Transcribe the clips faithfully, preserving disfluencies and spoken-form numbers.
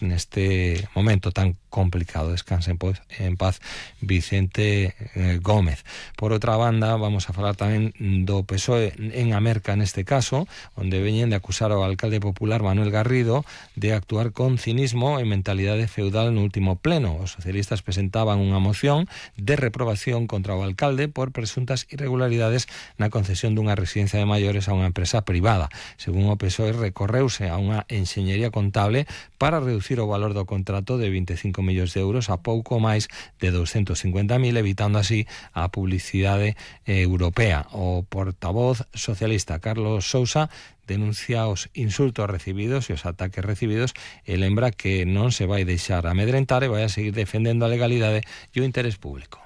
neste momento tan complicado. Descanse en paz, en paz Vicente eh, Gómez. Por outra banda, vamos a falar tamén do P S O E en Amerca neste caso, onde veñen de acusar ao alcalde popular Manuel Garrido de actuar con cinismo e mentalidade feudal no último pleno. Os socialistas presentaban unha moción de reprobación contra o alcalde por presuntas irregularidades na concesión dunha residencia de maiores a unha empresa privada. Según o P S O E, recorreuse a unha enxeñería contable para reducir o valor do contrato de vinte e cinco millóns de euros a pouco máis de douscentos cincuenta mil, evitando así a publicidade eh, europea. O portavoz socialista Carlos Sousa denuncia os insultos recibidos e os ataques recibidos e lembra que non se vai deixar amedrentar e vai a seguir defendendo a legalidade e o interés público.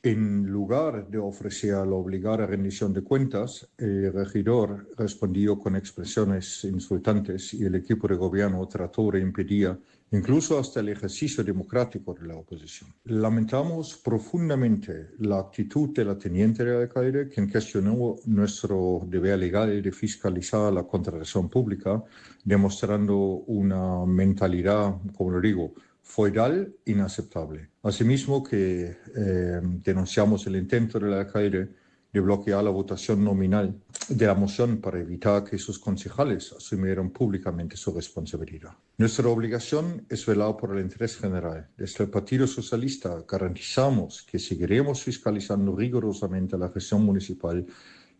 En lugar de ofrecer la obligada rendición de cuentas, el regidor respondió con expresiones insultantes y el equipo de gobierno trató de impedir incluso hasta el ejercicio democrático de la oposición. Lamentamos profundamente la actitud de la teniente del alcalde, quien cuestionó nuestro deber legal de fiscalizar la contratación pública, demostrando una mentalidad, como lo digo, feudal inaceptable. Asimismo que eh, denunciamos el intento del alcalde de bloquear la votación nominal de la moción para evitar que sus concejales asumieran públicamente su responsabilidad. Nuestra obligación es velar por el interés general. Desde el Partido Socialista garantizamos que seguiremos fiscalizando rigurosamente la gestión municipal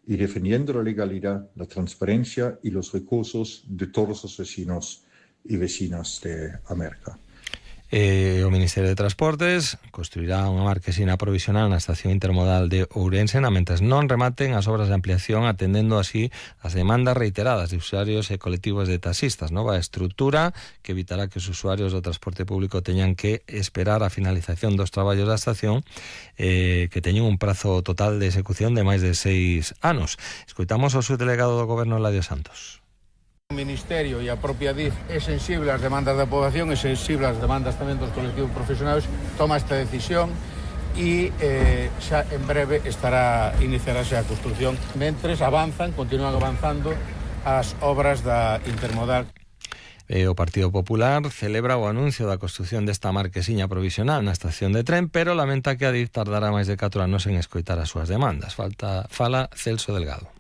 y defendiendo la legalidad, la transparencia y los recursos de todos los vecinos y vecinas de Amerca. Eh, o Ministerio de Transportes construirá unha marquesina provisional na estación intermodal de Ourense mentres non rematen as obras de ampliación, atendendo así as demandas reiteradas de usuarios e colectivos de taxistas. Nova estrutura que evitará que os usuarios do transporte público teñan que esperar a finalización dos traballos da estación, eh, que teñen un prazo total de execución de máis de seis anos. Escoitamos ao subdelegado do Goberno, Eladio Santos. O Ministerio e a propia D I F é sensible ás demandas da poboación e sensible ás demandas tamén dos colectivos profesionais, toma esta decisión e eh, xa en breve estará iniciarase a construción. Mentres avanzan, continúan avanzando as obras da intermodal. Eh, o Partido Popular celebra o anuncio da construción desta marquesiña provisional na estación de tren, pero lamenta que a D I F tardará máis de catro anos en escoitar as súas demandas. Falta, fala Celso Delgado.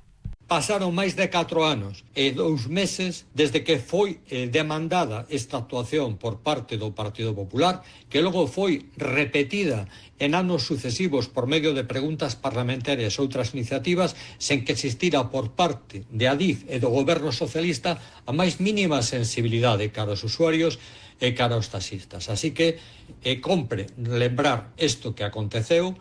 Pasaron máis de catro anos e dous meses desde que foi eh, demandada esta actuación por parte do Partido Popular, que logo foi repetida en anos sucesivos por medio de preguntas parlamentarias e outras iniciativas, sen que existira por parte de A D I F e do Goberno Socialista a máis mínima sensibilidade cara aos usuarios e cara aos taxistas. Así que eh, compre lembrar isto que aconteceu,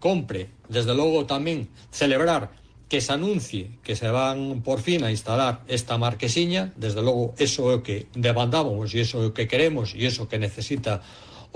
compre, desde logo, tamén celebrar que se anuncie que se van por fin a instalar esta marquesiña. Desde logo, eso é o que demandábamos e eso é o que queremos e eso que necesita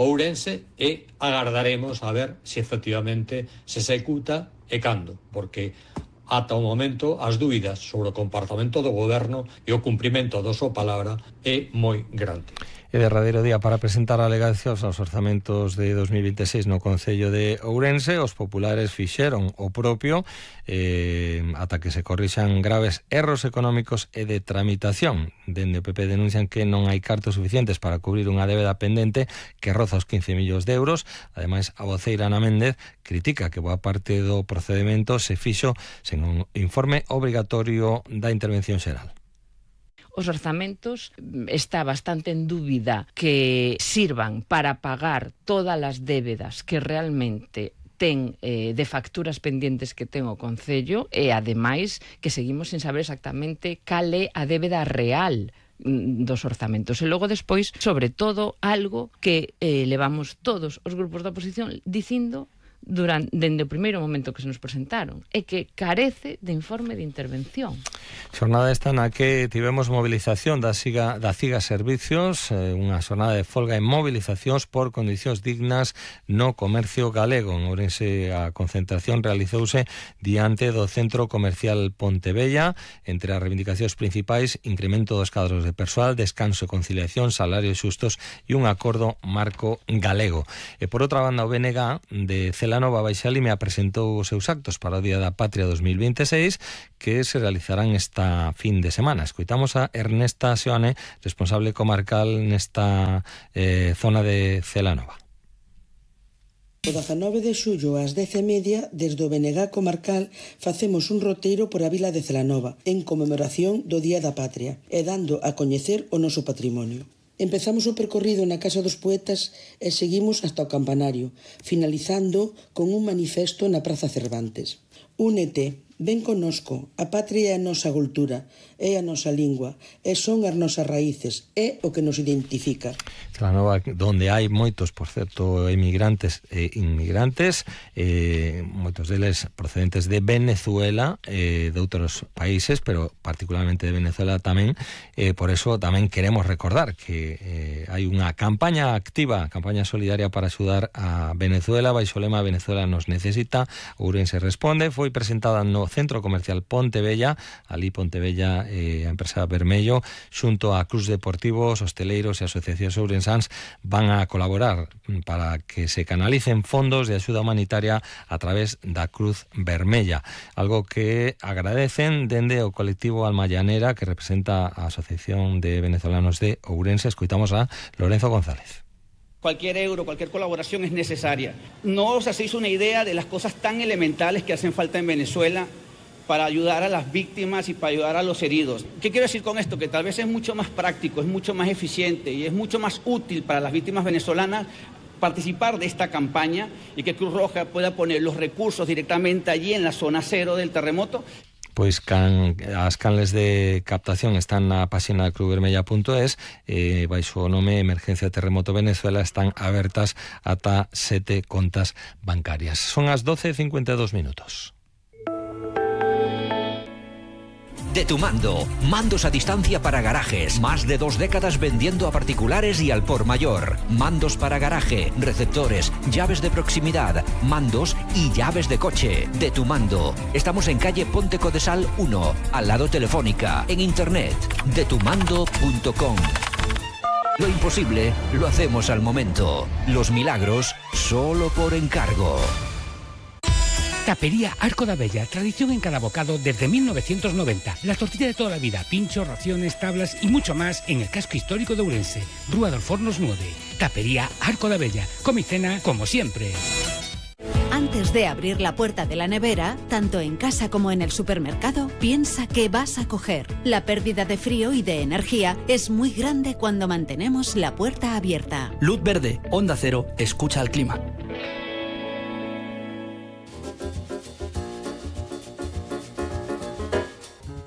Ourense, e agardaremos a ver se efectivamente se executa e cando, porque ata o momento as dúbidas sobre o comportamento do goberno e o cumprimento da súa palabra é moi grande. E derradeiro día para presentar alegacións aos orzamentos de dos mil vinte e seis no Concello de Ourense. Os populares fixeron o propio eh, ata que se corrixan graves erros económicos e de tramitación. Dende o P P denuncian que non hai cartos suficientes para cubrir unha débeda pendente que roza os quince millóns de euros. Ademais, a voceira Ana Méndez critica que boa parte do procedimento se fixo sen un informe obrigatorio da intervención xeral. Os orzamentos está bastante en dúbida que sirvan para pagar todas as débedas que realmente ten eh, de facturas pendientes que ten o Concello, e ademais que seguimos sin saber exactamente cal é a débeda real dos orzamentos. E logo despois, sobre todo, algo que eh, levamos todos os grupos da oposición dicindo durante, dende o primeiro momento que se nos presentaron, é que carece de informe de intervención. Xornada esta na que tivemos movilización da Siga, da CIGA Servicios, eh, unha xornada de folga e movilizacións por condicións dignas no comercio galego. En Ourense a concentración realizouse diante do Centro Comercial Pontebella. Entre as reivindicacións principais, incremento dos cadros de persoal, descanso e conciliación, salarios xustos e un acordo marco galego. E por outra banda, o B N G de Celanova Baixa Limia presentou os seus actos para o Día da Patria dos mil veintiséis que se realizarán esta fin de semana. Escoitamos a Ernesta Seoane, responsable comarcal nesta eh, zona de Celanova. O dezanove de xullo ás dez e media, desde o B N G comarcal, facemos un roteiro por a vila de Celanova en conmemoración do Día da Patria e dando a coñecer o noso patrimonio. Empezamos o percorrido na Casa dos Poetas e seguimos hasta o campanario, finalizando con un manifesto na Praza Cervantes. Únete, ven connosco, a patria é a nosa cultura, é a nosa lingua, e son as nosas raíces, é o que nos identifica. Celanova, donde hai moitos, por certo, emigrantes e inmigrantes, eh, moitos deles procedentes de Venezuela, eh, de outros países, pero particularmente de Venezuela tamén, eh, por eso tamén queremos recordar que eh, hai unha campaña activa, campaña solidaria para axudar a Venezuela, baixo lema Venezuela nos necesita. Ourense responde, foi presentada no Centro Comercial Pontevella, ali Pontevella, eh, a empresa Vermello, xunto a Cruz Deportivos, hosteleiros e asociacións ourensáns van a colaborar para que se canalicen fondos de axuda humanitaria a través da Cruz Vermella, algo que agradecen dende o colectivo Alma Llanera, que representa a Asociación de Venezolanos de Ourense. Escoitamos a Lorenzo González. Cualquier euro, cualquier colaboración es necesaria. No os hacéis una idea de las cosas tan elementales que hacen falta en Venezuela para ayudar a las víctimas y para ayudar a los heridos. ¿Qué quiero decir con esto? Que tal vez es mucho más práctico, es mucho más eficiente y es mucho más útil para las víctimas venezolanas participar de esta campaña y que Cruz Roja pueda poner los recursos directamente allí en la zona cero del terremoto. Pois can, as canles de captación están na páxina cruzvermella punto es, eh, baixo o nome Emergencia Terremoto Venezuela, están abertas ata sete contas bancarias. Son as doce e cincuenta e dos minutos. De Tu Mando, mandos a distancia para garajes, más de dos décadas vendiendo a particulares y al por mayor. Mandos para garaje, receptores, llaves de proximidad, mandos y llaves de coche. De Tu Mando. Estamos en calle Ponte Codesal uno, al lado Telefónica, en internet, de tu mando punto com. Lo imposible lo hacemos al momento. Los milagros solo por encargo. Tapería Arco da Bella, tradición en cada bocado desde mil novecientos noventa. La tortilla de toda la vida, pinchos, raciones, tablas y mucho más en el casco histórico de Ourense. Rúa dos Fornos nueve. Tapería Arco da Bella. Come y cena como siempre. Antes de abrir la puerta de la nevera, tanto en casa como en el supermercado, piensa qué vas a coger. La pérdida de frío y de energía es muy grande cuando mantenemos la puerta abierta. Luz verde, Onda Cero, escucha al clima.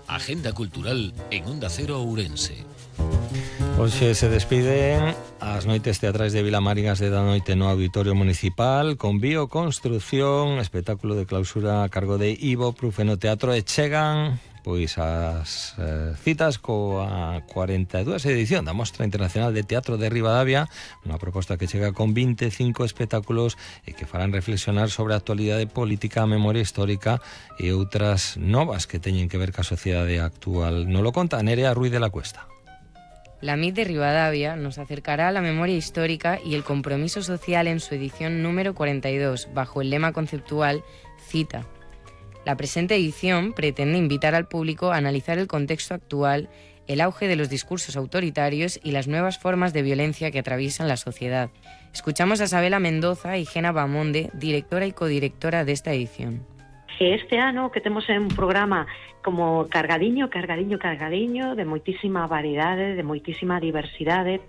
Agenda cultural en Onda Cero Ourense. Hoxe se despiden as noites teatrais de Vilamarigas de da noite no Auditorio Municipal con bioconstrucción, espectáculo de clausura a cargo de Ivo Prufeno Teatro, e chegan pois as eh, citas coa cuarenta e dúas edición da Mostra Internacional de Teatro de Ribadavia, unha proposta que chega con vinte e cinco espectáculos e que farán reflexionar sobre a actualidade política, a memoria histórica e outras novas que teñen que ver ca sociedade actual. Nos lo conta Nerea Ruiz de la Cuesta. La M I T de Ribadavia nos acercará a la memoria histórica y el compromiso social en su edición número cuarenta y dos, bajo el lema conceptual Cita. La presente edición pretende invitar al público a analizar el contexto actual, el auge de los discursos autoritarios y las nuevas formas de violencia que atraviesan la sociedad. Escuchamos a Isabela Mendoza y Gena Bamonde, directora y codirectora de esta edición. Este ano que temos un programa como cargadiño, cargadiño, cargadiño, de moitísima variedade, de moitísima diversidade,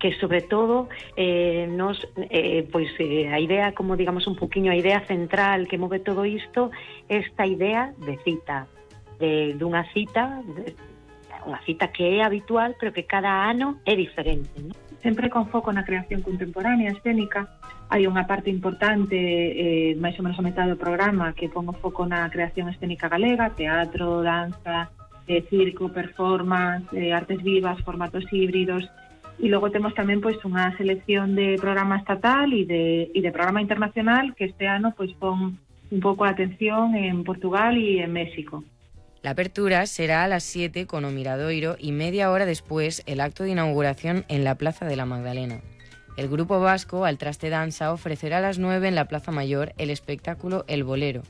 que sobre todo eh, nos, eh, pois eh, a idea, como digamos un poquinho, a idea central que move todo isto, esta idea de cita, de dunha cita, de, unha cita que é habitual, pero que cada ano é diferente, ¿no? Sempre con foco na creación contemporánea, escénica. Hai unha parte importante, eh, máis ou menos a metade do programa, que pon o foco na creación escénica galega, teatro, danza, eh, circo, performance, eh, artes vivas, formatos híbridos. E logo temos tamén pois unha selección de programa estatal e de, e de programa internacional que este ano pois pon un pouco a atención en Portugal e en México. La apertura será a las siete con o Miradoiro y media hora después el acto de inauguración en la Plaza de la Magdalena. El grupo vasco Al Traste Danza ofrecerá a las nueve en la Plaza Mayor el espectáculo El Bolero.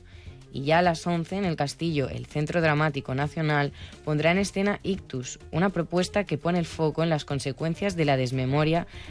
Y ya a las once en el Castillo, el Centro Dramático Nacional pondrá en escena Ictus, una propuesta que pone el foco en las consecuencias de la desmemoria